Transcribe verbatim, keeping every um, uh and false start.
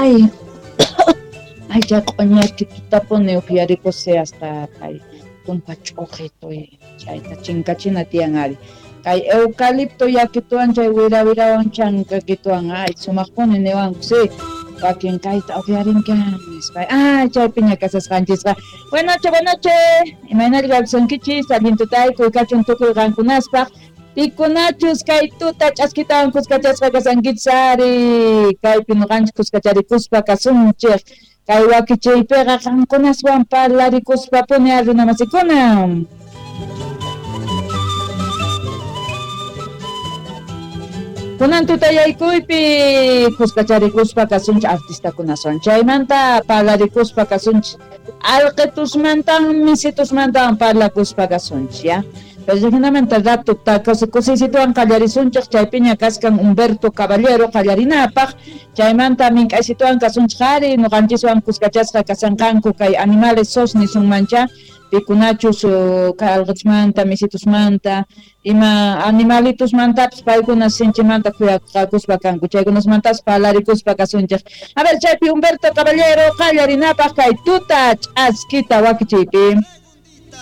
Ay, ay chay q'uñakitutapuni upyarikusay hasta kay tumpa ch'uqituy chayta chinkachina tiyan ari. Kay eucalipto yakituwan chay wira wirawan chankakituwan ay sumaqpuni niwanku si wakin kayta upyarinka nispa. Ay chaypiña kasasqanchisqa. Buenas noches, buenas noches. Imaynalla kawsankichis allin tutaykuy kachun tukuy qankunaspaq. Pikunachus kay tuta ch'askitawan kuskachasqa kasankichis ari kaypi nuqanchik kuskacharikuspa kasunchik kay wakichiypiqa qankunaswan parlarikuspapuni ari runamasikuna. Kunan tutayaykuypi kuskacharikuspa kasunchik artistakunawan chaymanta parlarikuspa kasunchik alqitusmantan misitusmantan parlakuspa kasunchik ya. Pero jinamanta rato kusisituwan qallarisunchik chaypiña kaskan Humberto Caballero qallarinapaq chaymanta mink'aysituwan kasunchik ari nuqanchiswan kuskachasqa kasanqanku kay animales sos nisunmancha pikunachus kay alqitusmanta misitusmanta ima animalitusmantapis paykuna sinchimanta khuyakuspa kanku chaykunasmantapas parlarikuspa kasunchik. A ver chaypi Humberto Caballero qallarinapaq kay tuta ch'askita wakichiypi.